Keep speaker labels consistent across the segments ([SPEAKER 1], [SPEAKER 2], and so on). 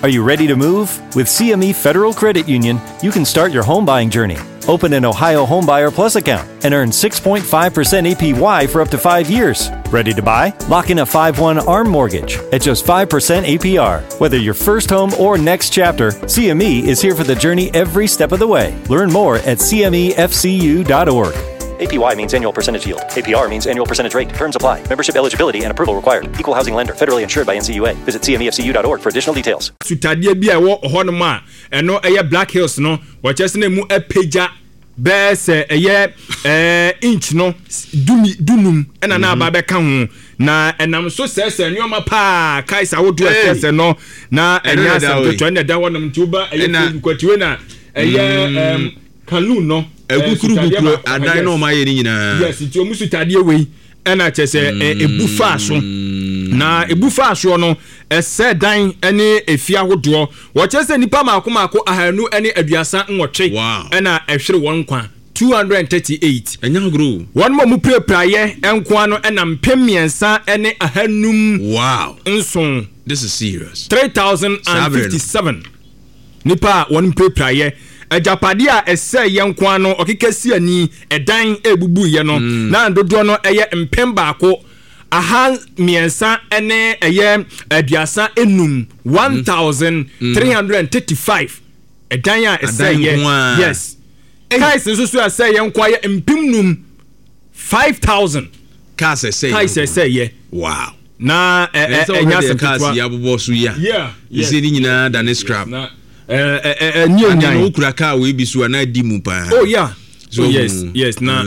[SPEAKER 1] Are you ready to move? With CME Federal Credit Union, you can start your home buying journey. Open an Ohio Homebuyer Plus account and earn 6.5% APY for up to 5 years. Ready to buy? Lock in a 5/1 ARM mortgage at just 5% APR. Whether your first home or next chapter, CME is here for the journey every step of the way. Learn more at cmefcu.org. APY means annual percentage yield. APR means annual percentage rate. Terms apply. Membership eligibility and approval required. Equal housing lender. Federally insured by NCUA. Visit cmefcu.org for additional details.
[SPEAKER 2] Sutadeɛ bi a ɛwɔ hɔnom a ɛno ɛyɛ Black Hills no, wɔkyerɛ sɛ na emu apagya bɛyɛ sɛ ɛyɛ ɛɛ inch no dumi dunum ɛna na aba bɛka ho na ɛnam so sɛɛsɛ nneɛma paa kaes ahodoɔ ɛsɛsɛ no na ɛnyɛ asɛm ketewa ɛna ɛda hɔnom nti woba ɛyɛ Facebook akyi wei na ɛyɛ ɛɛm Kaloon no.
[SPEAKER 3] Ɛkukuru kukuru adan na wɔn ayɛ ne nyinaa.
[SPEAKER 2] Yes, nti wɔn sutadeɛ wei ɛna kyɛ sɛ ebu faa so na ebu faa soɔ no ɛsɛ dan ne efie ahodoɔ. Wɔkyerɛ sɛ nnipa mako mako 238 ɛna ɛhwere wɔn nkwa, 238.
[SPEAKER 3] Ɛnyɛ agorɔ o.
[SPEAKER 2] Wɔn a wɔpirapiraeɛ nkoa no ɛna mpem 3 ne ahanum nson.
[SPEAKER 3] This is serious.
[SPEAKER 2] 3,057. Nnipa a wɔn mpirapiraeɛ, agyapadeɛ a ɛsɛeɛ nko ara no, ɔkeka si ani, ɛdan a ɛbubuiɛ no, na dodoɔ no yɛ mpem 1 335, 1,335 ɛdan a ɛsɛeɛ. Yes. Cars nso so a ɛsɛeɛ nko ara yɛ 5,000, 5,000.
[SPEAKER 3] Cars ɛsɛeɛ.
[SPEAKER 2] Cars ɛsɛeɛ.
[SPEAKER 3] Wow.
[SPEAKER 2] Na ɛnyɛ asɛm ketewa.
[SPEAKER 3] Cars yi abobɔ so yi a.
[SPEAKER 2] Yeah.
[SPEAKER 3] Ɛsɛ ne nyinaa da ne scrap.
[SPEAKER 2] Na ɛnyɛ onyan.
[SPEAKER 3] Ade no wokura car wei bi so a na adi mu paa.
[SPEAKER 2] Oh yeah. So, oh, yes, na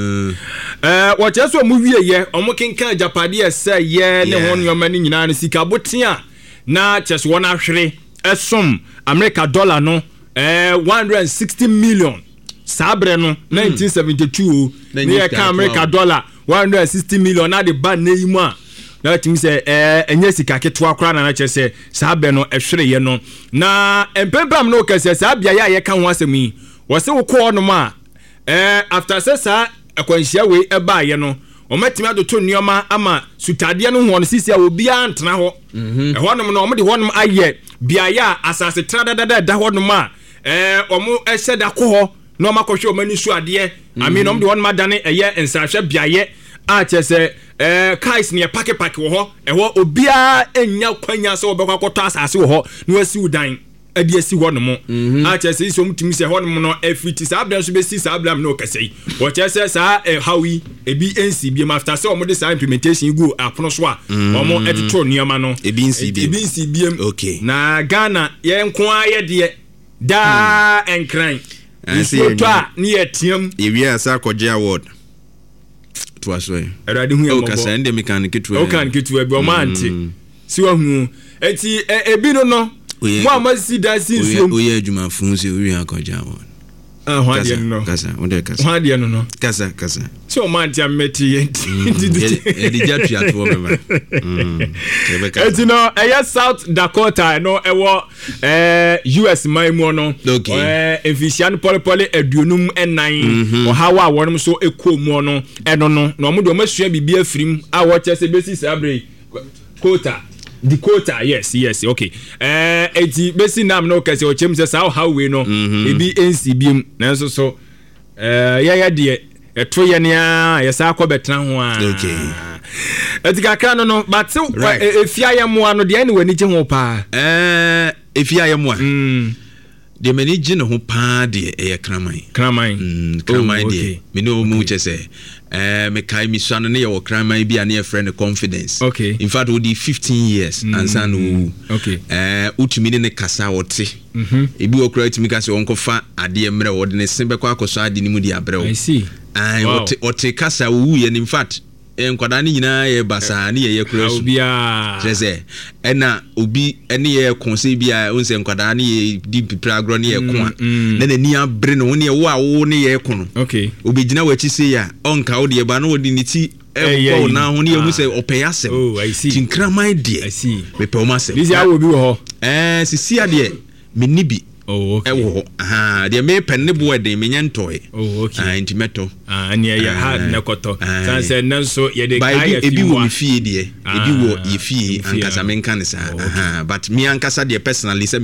[SPEAKER 2] wɔkyerɛ sɛ ɔmo wie yɛ ɔmo kenkan agyapadeɛ ɛsɛ yɛ ne ho nneɛma no nyinaa no, sika boten a na kyerɛ sɛ wɔn ahwere ɛsom America dollar no 160 million saa berɛ no, 1972 o. Ne yɛ ka America dollar 160 million na de ba nne yi mu a, na tumi sɛ ɛnyɛ sika ketewa koraa na kyerɛ sɛ saa berɛ no ɛhwereyɛ no. Na mpempem no kɛsɛ saa beaeɛ a yɛka ho asɛm yi, wɔsɛ wokɔ hɔnom a after sɛ saa akwanhyia wei ɛbaeɛ no, wɔmatumi atoto nneɛma ama sutadeɛ no ho no sisi a obiara ntena hɔ. Ɛhɔnom no, wɔde hɔnom ayɛ beaeɛ a asase tra dadada ɛda hɔnom a wɔn ɛhyɛ da kɔ hɔ na wɔn akɔhwɛ wɔn ani so adeɛ. I mean, wɔn de hɔnom adane ɛyɛ nsrahwɛ beaeɛ a kyerɛ sɛ cars ne yɛ park wɔ hɔ. Ɛhɔ obiara nya kwanya sɛ wɔbɛkɔ akɔtɔ asase wɔ hɔ na wɔasi dan ɛde asi hɔ nom a kyerɛ sɛ sɛ wɔn tumi sɛ hɔ nom no ɛfiri ti saa abirɛ nso bɛsi saa abirɛ mu na ɔkɛsɛ yi, wɔkyerɛ sɛ saa ɛhaw yi ebi nsi biem after sɛ wɔn de saa implementation yi gu apono so a wɔn ɛtoto nneɛma no.
[SPEAKER 3] Ebi nsi biem.
[SPEAKER 2] Ebi nsi biem.
[SPEAKER 3] Na
[SPEAKER 2] Ghana yɛn nko ara yɛ deɛ daa nkran nsuo tɔ a ne yɛ team.
[SPEAKER 3] Yɛwie asa akɔgye award toa so yi.
[SPEAKER 2] Awurade hu yɛn mmɔbɔ.
[SPEAKER 3] Kasa ɛnde mi kan ketewa.
[SPEAKER 2] Ɔkan ketewa bi ɔmo ante si wa hu eti ebi no mo a mo asi dan si nsuom.
[SPEAKER 3] Oyɛ adwuma fun sɛ owie akɔgye award.
[SPEAKER 2] Ah, ho adeɛ no no.
[SPEAKER 3] Kasa, wo de kasa.
[SPEAKER 2] Ho adeɛ no.
[SPEAKER 3] Kasa, kasa.
[SPEAKER 2] Sɛ ɔmo ante a mmɛte yɛ
[SPEAKER 3] nti. Yɛde gya tua toɔ bɛba.
[SPEAKER 2] Eti no ɛyɛ South Dakota no, ɛwɔ US man mu no. Mfinhyia no pɔlepɔle 54, ɔhaw a wɔn nso kɔɔ mu no ɛno no na wɔn de wɔn asua biribi afiri mu a wɔkyɛ sɛ bɛsi saa bere Kota Dakota, yes, okay. Eti bɛsi nam no kɛse ɔkyɛm sɛ saa ɔhaw wei no ebi nsi biem, nanso so yɛyɛ deɛ ɛto yɛ nea yɛsa akɔ bɛtena ho a ɛti kakra no bate efi ayɛmoa no deɛ ɛne w'ani gye ho paa.
[SPEAKER 3] Efi ayɛmoa deɛ m'ani gye ne ho paa deɛ ɛyɛ kraman.
[SPEAKER 2] Kraman.
[SPEAKER 3] Kraman deɛ me ne ɔmu kyɛ sɛ mekae mesua no ne yɛwɔ kraman bi a ne yɛfrɛ no Confidence. In fact, wodi 15 years ansa na wɔwu. Wotumi ne ne kasa, ɔte. Ebi wɔ koraa tumi ka sɛ ɔnkɔfa adeɛ mmerɛ, wɔde ne se bɛkɔ akɔsɔ ade no mu de abrɛ wo. Ɔte, ɔte kasa. Wɔwuiɛ no, in fact, nkwadaa no nyinaa yɛ basaa ne yɛyɛ kora su kyerɛ sɛ ɛna obi ne yɛ ko sɛ bi a sɛ nkwadaa ne yɛ di mpipire agorɔ ne yɛ ko a na n'ani abere ne ho ne ɛwo a wo ne yɛ ko no, obɛgyina w'akyi sei a ɔnka wo deɛ ba na wɔde ne ti ɛbɔ wo nan ho ne yɛhu sɛ ɔpɛ yɛ asɛm. Nti nkraman deɛ mepɛ wɔn asɛm.
[SPEAKER 2] Ɛɛ
[SPEAKER 3] sisi adeɛ menni bi ɛwɔ hɔ deɛ mepɛ ne boɔ ɛden menyɛ ntɔe. Nti mɛtɔ.
[SPEAKER 2] Ɛne ɛyɛ hard na kɔtɔ san sɛ ɛnɛ nso yɛde kaa yɛ
[SPEAKER 3] fi. Ebi wɔ me fie deɛ, ebi wɔ yɛ fie ankasa, menka ne saa, but me ankasa deɛ personally sɛ